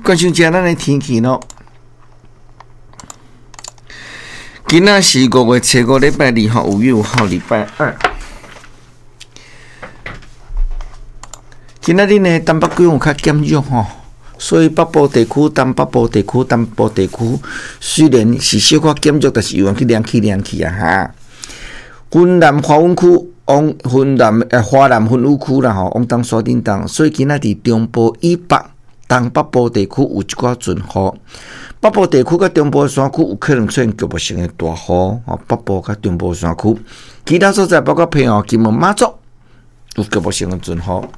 關心一下咱的天氣咯。今仔是5月初5禮拜二吼，5月5號禮拜二。今仔日呢，東北季風有較減弱吼，所以北部地區、東北部地區、東部地區雖然是小可減弱，但是猶原去涼去涼去啊哈。雲南華溫區、往雲南華南雲雨區啦吼，往東山頂東，所以今仔佇中部以北、東北部地區有一寡陣雨。北部地區佮中部山區有可能出現局部性的大雨吼，北部佮中部山區，其他所在包括澎湖、金門、馬祖有局部性的陣雨。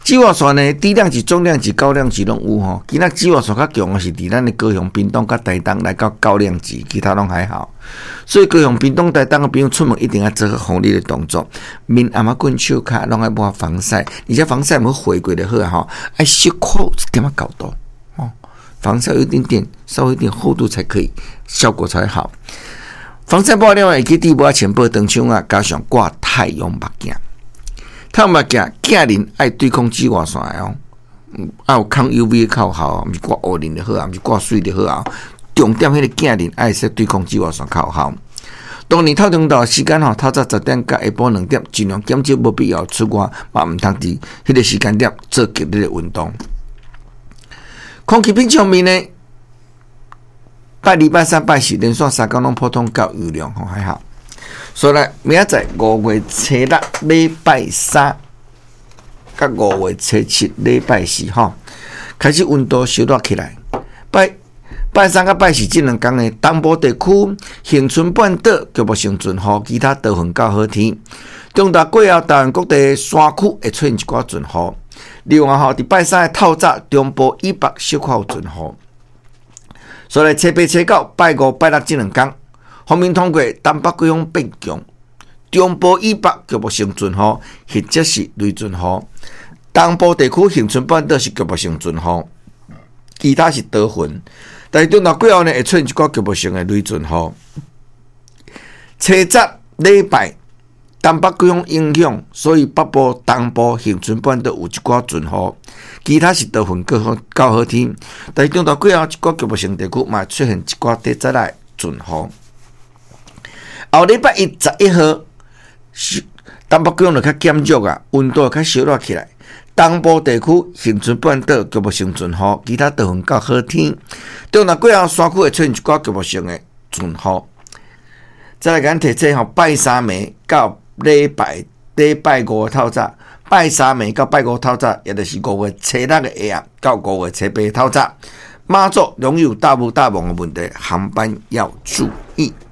紫外線呢，低量級、中量級、高量級攏有吼。今仔紫外線較強的是佇咱的高雄、屏東佮台東來到高量級，其他攏還好。所以高雄、屏東、台東的朋友出門一定愛做好防日的動作，面頷仔棍、手跤攏愛抹防曬，而且防曬毋好回過就好啊吼，愛小可一點仔厚度哦，防曬有一點點，稍微一點厚度才可以，效果才好。防曬抹了會記得抹前薄長槍啊，加上掛太陽目鏡。太陽目鏡鏡面愛對抗紫外線的哦，愛有抗 UV 的較好，毋是掛烏輪就好啊，毋是掛水就好啊。重點彼個鏡面愛說對抗紫外線較好。當然透中晝時間吼，透早10點到下晡2點，盡量減少無必要出外，嘛毋通佇彼個時間點做劇烈的運動。空氣品質方面呢，拜二、拜三、拜四連續3工攏普通到優良吼，還好。所以來明仔載5月初6禮拜三，佮5月初7禮拜四吼，開始溫度燒熱起來。拜拜三佮拜四這兩工呢，東部地區恆春半島局部性陣雨，其他多雲到好天。中晝過後，台灣各地山區會出現一寡陣雨。另外吼，佇拜三的透早，中部以北小可有陣雨。所以初八、初九、拜五、拜六這兩工，鋒面通過東北季風變強，中部以北局部性陣雨，或者是雷陣雨。東部地區恆春半島是局部性陣雨，其他是多雲。但是中晝過後呢，會出現一寡局部性的雷陣雨。初十禮拜，東北季風影響，所以北部、東部、恆春半島有一寡陣雨，其他是多雲較好較好天。但是中晝過後，一寡局部性地區嘛出現一寡短暫的陣雨。後禮拜一11號，東北季風就較減弱啊，溫度較燒熱起來。東部地區恆春半島局部性陣雨，其他多雲較好天。中晝過後，山區會出現一寡局部性的陣雨。再來共咱提醒吼，拜三暝到禮拜五的透早，拜三暝到拜五透早，也就是5月初6的下暗到5月初8透早，馬祖容易有大霧大濛的問題，航班要注意。